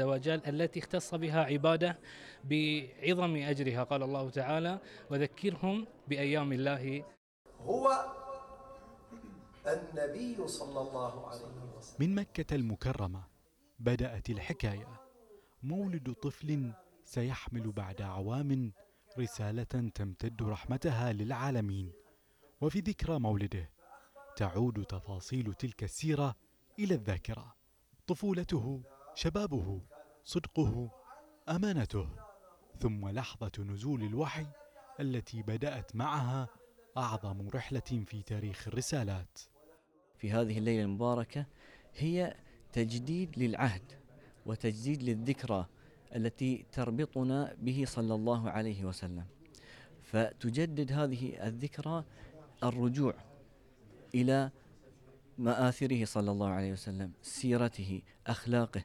وجل التي اختص بها عباده بعظم أجرها. قال الله تعالى: وذكرهم بأيام الله. هو النبي صلى الله عليه وسلم. من مكة المكرمة بدأت الحكاية، مولد طفل سيحمل بعد عوام رسالة تمتد رحمتها للعالمين. وفي ذكرى مولده تعود تفاصيل تلك السيرة إلى الذاكرة: طفولته، شبابه، صدقه، أمانته، ثم لحظة نزول الوحي التي بدأت معها أعظم رحلة في تاريخ الرسالات. في هذه الليلة المباركة هي تجديد للعهد وتجديد للذكرى التي تربطنا به صلى الله عليه وسلم، فتجدد هذه الذكرى الرجوع إلى مآثره صلى الله عليه وسلم، سيرته، أخلاقه،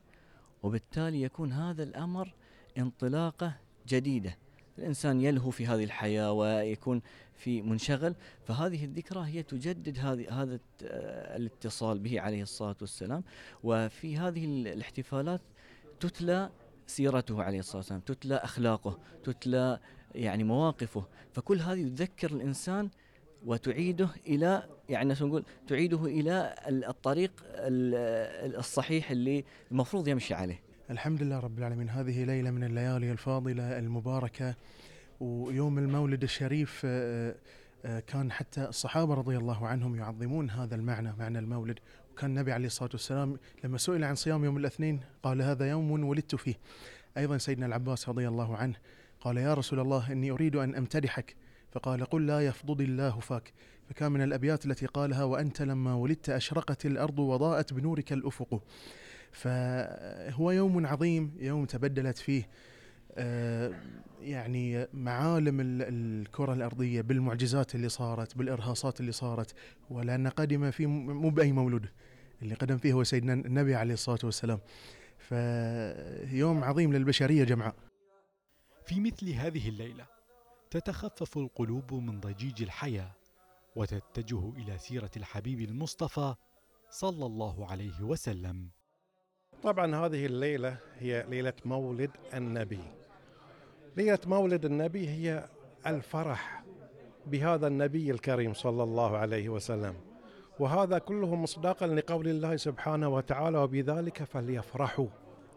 وبالتالي يكون هذا الأمر انطلاقة جديدة. الإنسان يلهو في هذه الحياة ويكون في منشغل، فهذه الذكرى هي تجدد هذا الاتصال به عليه الصلاة والسلام. وفي هذه الاحتفالات تتلى سيرته عليه الصلاة والسلام، تتلى أخلاقه، تتلى يعني مواقفه، فكل هذه تذكر الإنسان وتعيده إلى نقول تعيده إلى الطريق الصحيح اللي المفروض يمشي عليه. الحمد لله رب العالمين. هذه ليلة من الليالي الفاضلة المباركة، ويوم المولد الشريف كان حتى الصحابة رضي الله عنهم يعظمون هذا المعنى، معنى المولد. وكان النبي عليه الصلاة والسلام لما سئل عن صيام يوم الاثنين قال: هذا يوم ولدت فيه. أيضا سيدنا العباس رضي الله عنه قال: يا رسول الله إني أريد أن أمتدحك، فقال: قل لا يفضض الله فاك. فكان من الأبيات التي قالها: وأنت لما ولدت أشرقت الأرض وضاءت بنورك الأفق. فهو يوم عظيم، يوم تبدلت فيه يعني معالم الكرة الأرضية بالمعجزات اللي صارت، بالإرهاصات اللي صارت. ولأن قدم فيه مو بأي مولود، اللي قدم فيه هو سيدنا النبي عليه الصلاة والسلام. فيوم عظيم للبشرية جمعاء. في مثل هذه الليلة تتخفف القلوب من ضجيج الحياة وتتجه إلى سيرة الحبيب المصطفى صلى الله عليه وسلم. طبعا هذه الليلة هي ليلة مولد النبي. ليلة مولد النبي هي الفرح بهذا النبي الكريم صلى الله عليه وسلم، وهذا كله مصداقا لقول الله سبحانه وتعالى: وبذلك فليفرحوا.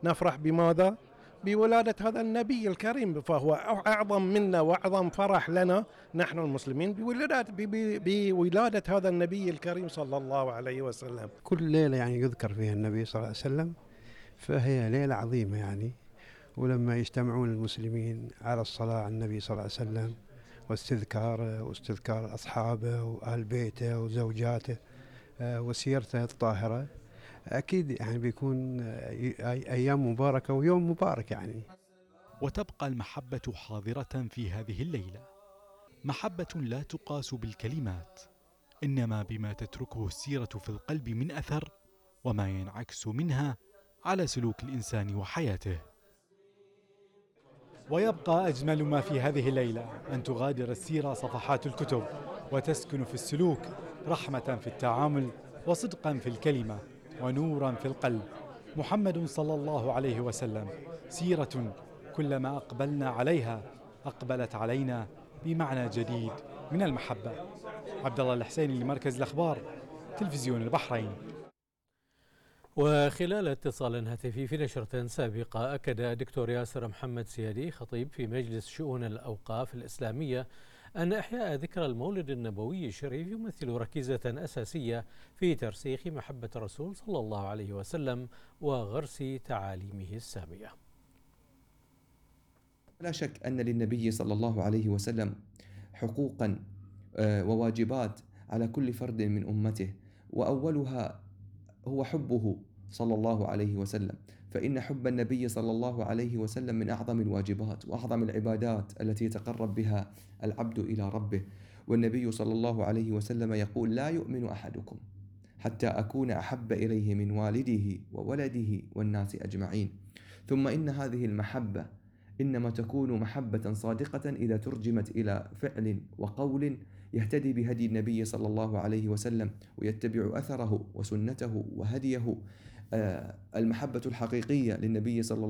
نفرح بماذا؟ بولادة هذا النبي الكريم، فهو أعظم منا وأعظم فرح لنا نحن المسلمين بولادة هذا النبي الكريم صلى الله عليه وسلم. كل ليلة يذكر فيها النبي صلى الله عليه وسلم، فهي ليلة عظيمة ولما يجتمعون المسلمين على الصلاة على النبي صلى الله عليه وسلم واستذكار أصحابه وأهل بيته وزوجاته وسيرته الطاهرة، أكيد بيكون أيام مباركة ويوم مبارك وتبقى المحبة حاضرة في هذه الليلة، محبة لا تقاس بالكلمات، إنما بما تتركه السيرة في القلب من أثر، وما ينعكس منها على سلوك الإنسان وحياته. ويبقى أجمل ما في هذه الليلة أن تغادر السيرة صفحات الكتب وتسكن في السلوك رحمة في التعامل وصدقا في الكلمة ونورا في القلب. محمد صلى الله عليه وسلم سيرة كلما أقبلنا عليها أقبلت علينا بمعنى جديد من المحبة. عبد الله الحسيني لمركز الأخبار، تلفزيون البحرين. وخلال اتصال هاتفي في نشرة سابقة أكد الدكتور ياسر محمد سيادي خطيب في مجلس شؤون الأوقاف الإسلامية أن إحياء ذكرى المولد النبوي الشريف يمثل ركيزة أساسية في ترسيخ محبة الرسول صلى الله عليه وسلم وغرس تعاليمه السامية. لا شك أن للنبي صلى الله عليه وسلم حقوقا وواجبات على كل فرد من أمته، وأولها هو حبه صلى الله عليه وسلم، فإن حب النبي صلى الله عليه وسلم من أعظم الواجبات وأعظم العبادات التي يتقرب بها العبد إلى ربه. والنبي صلى الله عليه وسلم يقول: لا يؤمن أحدكم حتى أكون أحب إليه من والده وولده والناس أجمعين. ثم إن هذه المحبة إنما تكون محبة صادقة إذا ترجمت إلى فعل وقول يهتدي بهدي النبي صلى الله عليه وسلم ويتبع أثره وسنته وهديه. المحبة الحقيقية للنبي صلى الله